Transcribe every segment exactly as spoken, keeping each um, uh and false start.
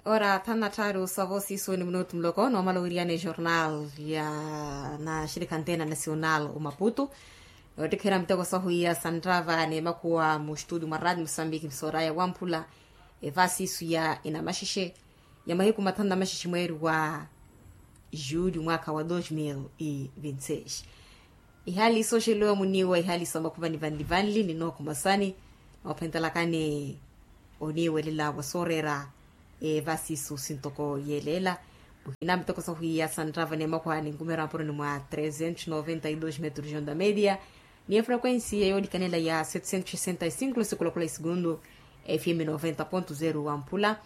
Ora thanu na tthaaru sa voosiso ni minutu muloko noomala owiryana ejornal ya naxirikha antena nacional omaputu. Yoottikherya miteko sahu iya santtava ni emakhuwa mu estudio mwa radio musambiki msooraya wamphula. Evaasiso ya enamaxexe ya mahiku mathanu na maxexe mweeri wa julho mwaakha wa dos mil e vinte seis. Ihaali sooxelowa muniiwa ihaali sa makhuvani vanli vanli ni nookhumasani noophentelakani oniiwelela wa sooreera. Evaasiso sintoko yeeleela muhina miteko sahwiiya santtava ni emakhuwa ni nkumeera mpuroni mwa trezentos noventa e dos metros onda media ni efrequensi ya yoolikanela ya setecentos sessenta e cinco losikulokola e segundo. Fm noventa ponto zero wamphula.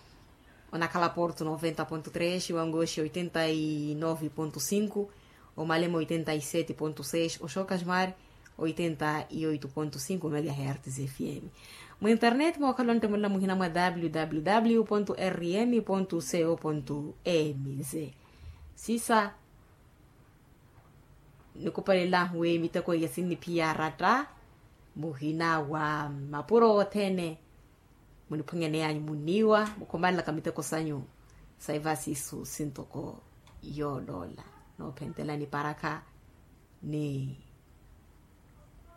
Onakhala porto noventa ponto tres wangoxi oitenta e nove ponto cinco. Omalema oitenta e sete ponto seis oxokasmar oitenta e oito ponto cinco megahertz fm. Mu internet mookhala onttumulela muhina mwa www rm co mz. Sisa nikupalelahu wi miteko iya sinniphiya aratta muhina wa mapuro othene. Muniphwanyaneyanyu munniiwa mukhomalelaka miteko sanyu sa evaasiso sintoko yooloola noophentelani parakha ni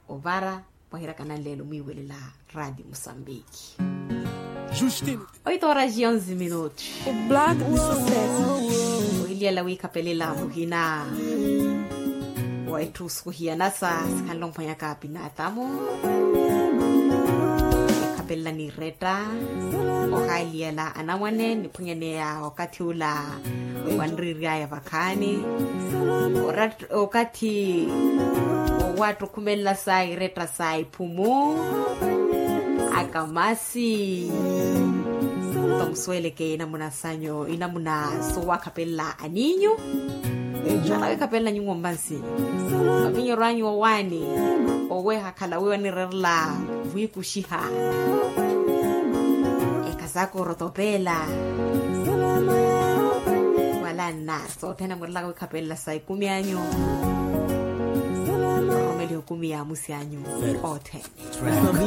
ovara. Mwahirakana nleelo mwiiwelela radio musambiki. Oito horas e onze minutos. Ohiliyela wiikhapelela muhina wa etthu sukuhiyanasa sikhanle omphwanyaka pinatamu. Ekhapelela ni retta ohaaliyela anamwane niphwanyaneya okathi ula wanriiryaya vakhaani. Okathi wowattukhumelela sa iretta sa iphumu akamasi. Tomusuweleke inamuna sanyu inamuna sowakhapelela aninyu. Nala wikhapelela nyuwo mmansi mavinyeryo anyu owaani oweha khala wiiwa nireerela vwiikuxiha. Ekasaka orotopeela wala nna sothene murelaka wikhapelela sa ikumi anyu. Ororomeliha ikumi ya amusi anyu othene.